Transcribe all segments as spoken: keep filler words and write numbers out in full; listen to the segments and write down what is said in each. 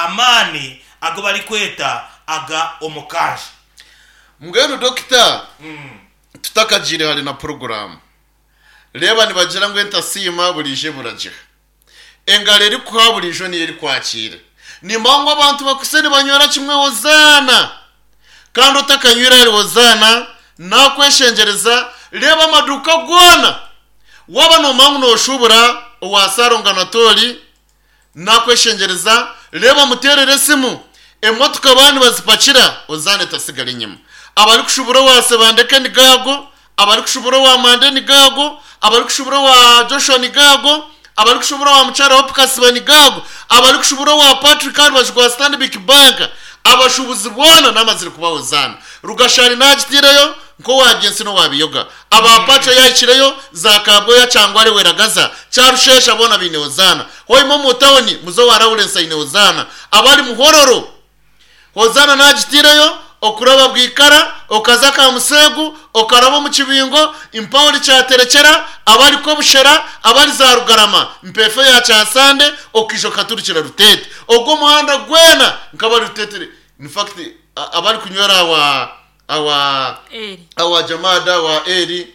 Amaani agu barikweta aga omukanja. Mbwenu dokita, tutakagiire hare na poroguramu, reeba nibagira ngu entasiima buriijo eburagiha. Engaro erikuha buriijo niyo erikwakiira. Nimba ngu abantu bakwitse nibanywera kimwe Hozaana. Kandi otakanywire ahari Hozaana, nakweshengyereza, reeba amaduuka goona. Waaba noomanya ngu nooshuubura owa Sarongo Anatoli, nakweshengyereza, reeba muteerere esimu. Emotoka baaba nibazipakira, Hozaana etasigara enyima. Abarikushuubura owa Sebandeke ni gaago, abarikushuubura owa Mande ni gaago, abarikushuubura owa Joshua ni gaago, abarikushuubura owa Mukyara Hope Kasiba ni gaago, abarikushuubura owa Patrick aha rubaju rwa Stanbic Bank, abashuubuzi boona n'amazire kuba Hozaana. Rugashari naagitiireyo nk'owa Gyensi n'owa Biyoga. Aba Pacho yaahikireyo, za Kabwoya, Kyangware, Weragaza, Kyarushesha boona baine Hozaana. Hoima omu tawuni, muze owa Lawrence aine Hozaana. Abari Muhororo, Hozaana naagitiireyo, okuraba Bwikara, okaza Kamuseegu, okaraba omu Kibingo, mpaho ori Kyaterekyera, abari Kobushera, abari za Rugarama, Mpeefe ya Kyasande, okaija okaturukira Ruteete. Ogwo omuhanda gwena nk'abari Ruteete, in fact, abarikunywera awa awa Eri. awa Jamada, awa Eri,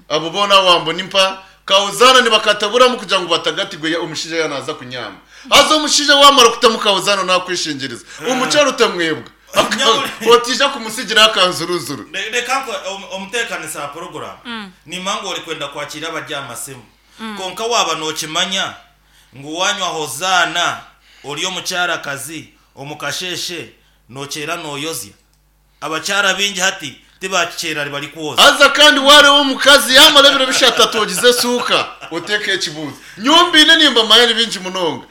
abo boona awa Mbonimpa, Kahozaana nibakataburamu kugira ngu batagatigwe omushaija yaaba naaza kunyaama. Haza omushaija waamara kutamu Kahozaana naakweshengyereza, omukyara otamwebwa. Otaija kumutsigira akanzuruzuru. Reka nko omuteekanisa wa poroguramu, nimba ngu orikwenda kwakira abari aha masimu. Kwonka waaba nookimanya ngu waanywa Hozaana ori omukyarakazi omu kasheeshe nookyera nooyozya. Abakyara baingi hati tibakikyera barikwoza. Haza kandi waareeba omukazi yaamara ebiro bishatu atoogize esuuka, oteeke ekibuuzo. Nyowe mbiine nimbamanya ni bingi munonga.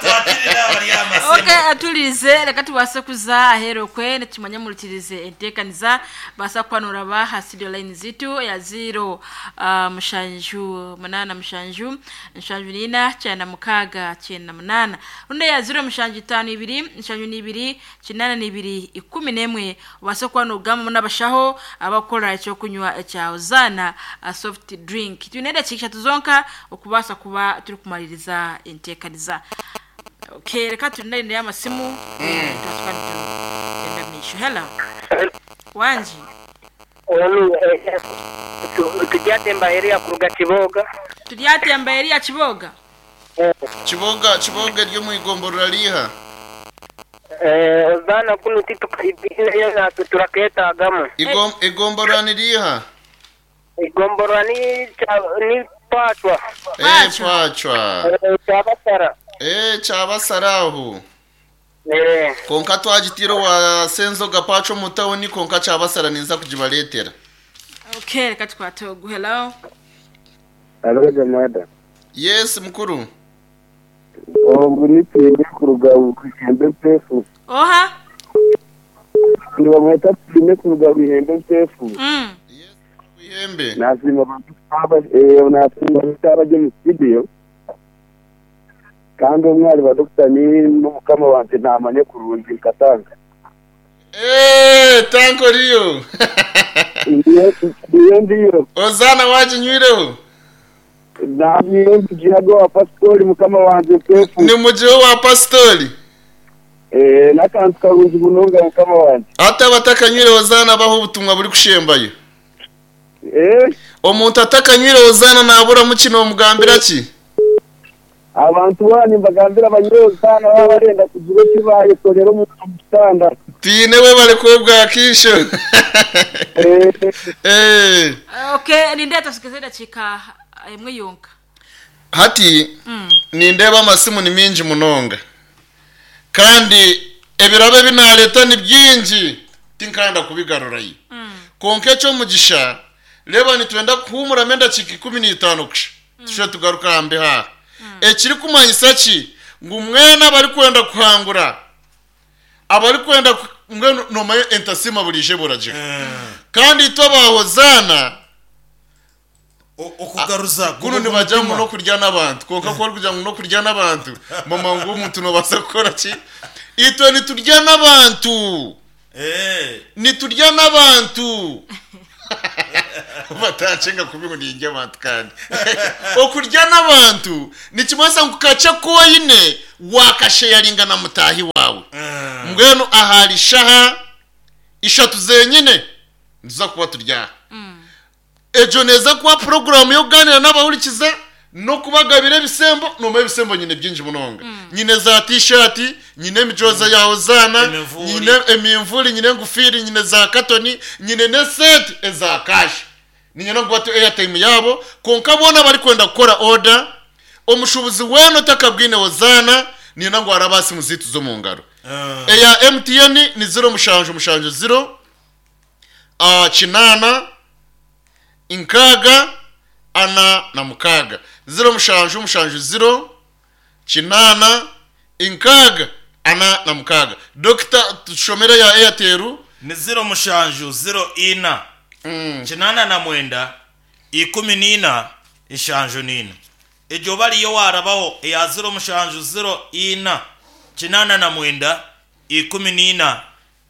Twakirire abari aha masimu. Okay, aturize reka tubaase kuza aheeru okwe nitumanya murikirize enteekaniza baasa kukwanura ba aha studio line zitu ya ziro uh, mushanju munaana mushanju nshanju niina kyenda mukaaga kyenda munaana rundi ya ziro mushanju itaano ibiri nshanju n'ibiri kinaana n'ibiri ikumi n'emwe obaase kuba noogamba n'abashaho abakukora ekyokunywa ekya Hozaana uh, soft drink. Twine edakiika ishatu zonka okubaasa kuba turikumaririza enteekaniza. Okay, reka turinde amasimu turasuka nitugenda mu maisho. Hello. Wangi. Onu turyatemba area kuruga Kiboga. Turyatemba area Kiboga. Kiboga, Kiboga eri omu igomborora riiha? Eh, Hozaana kunu titukaibine natwe turaketagamu. Igom, igomborora ni riiha? Igomborora ni ni Pachwa. Eh, Pachwa. Eh, Kyabasara. Eh, Kyabasara aho. Eh. Konka twagitiire owa Senzoga Pacho omu tawuni, konka Kyabasara ninza kugibareetera. Okay, reka tukwate ogu. Hello. Hello, Jamada. Yes, mukuru. Ogu ni Pime kuruga Ihembe Mpefu. Oha? Nibamweta Pime kuruga Ihembe Mpefu. Mm. Yes, Ihembe. Nasiima abantu aba eh nasiima abantu abaje mu studio. Kandi omwari wa Doctor ni n'umukama wanje namanye kurungi nkatanga. Eh, tanko riyo. Ndiyo ndiyo ndiyo. Ozana wajinywireho. Namiyo mtujihago wa pastori mukama wanje Mpefu. Ni mujiho wa pastori. Eh, nakantu karungi munonga mukama wanje. Ate abatakanywire Hozaana baho obutumwa buri kushembayo. Eh, Omuntu atakanywire Hozaana naburamu kino omugambira ki? Abantu bani mbagambira abanyozana baba barenda kugira eki bayekorera omu kitanda. Tiine we bari kwebwa kisho. Eh, Eh, Okay, nindeta tusikize dakika emwe yonka. Hati Mm. nindeeba amasimu ni mingi munonga. Kandi ebirabo ebi nareeta ni bingi tinkanda kubigarurayo. Mm. Konka ekyomugisha reeba nitwenda kuhuumuramu endakiika ikumi n'itaano kusha. Tushe tugaruka aha mbeho. Ekirikumanyisa ki ngu mwena abarikwenda kuhangura abarikwenda ku- mbwenu nomanya entasima buriije buragira. Kandi itwe aba Hozaana Okugaruza kuno nibajya ngu n'okurya n'abantu konka ku orikugira ngu n'okurya n'abantu mama ngu omuntu nobaasa kukora ki? Itwe niturya n'abantu. Eh. Niturya n'abantu. Batacenga kubi ngu nindya abantu kandi okurya n'abantu nikimanyisa ngu kace koyine wakasheyaringa na mutahi wawe. Mbwenu ahari shaha ishatu zenyine niza kuba turyaha ejo neza kuba porogaramu yo kuganira n'abahurikiza no kubagabira ebisembo. Noma ebisembo nyine byingi munonga, nyine za tishati, nyine emijoza yawe zana, Emivuri. nyine emimvuri, nyine engufiri, nyine za katoni, nyine nesenti eza kashi, ninyine ngu batu airtime yabo. Konka bona bari kwenda gukora order, omushubuzi wena otakabwine wozana nina ngu arabasi muzitu zo mu ngaro. Eya M T N ni zero mushanju mushanju zero ah, kinana inkaga ana na mukaga, zero mushanju mushanju zero kinana inkaga ana na mukaga. Dokita, tushomere ya Airtel. Ni ziro mushanju ziro ina kinana na mwenda ikumi n'ina ishanju n'ina. Ejo bariyo warabaho eya ziro mushanju ziro ina kinana na mwenda ikumi n'ina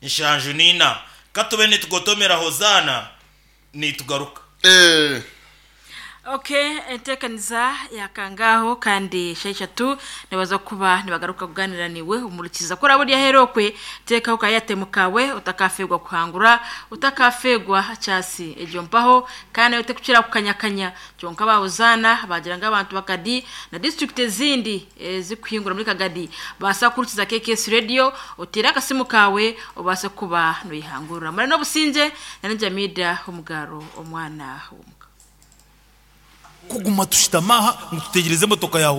ishanju n'ina. Katube nitugotomera hozana nitugaruka. Eh, Okay, entekaniza yakangaho kandi sheshatu nibaza kuba nibagaruka kuganira niwe umurikiza kora burya herokwe tekaho kayatemu kawe utakafegwa kuhangura utakafegwa chasi ejo mpaho kandi yote kuchira kukanyakanya kyonka bawuzana bagira ngo abantu bakadi na district ezindi eh, zikuhingura muri Kagadi basa kurikiza K K S Radio, utira akasimu kawe ubase kuba noyihangura muri no businje na Jamida umugaro omwana w'umuka. Kuguma tushitamaha ngo tutegereze emotoka yawe.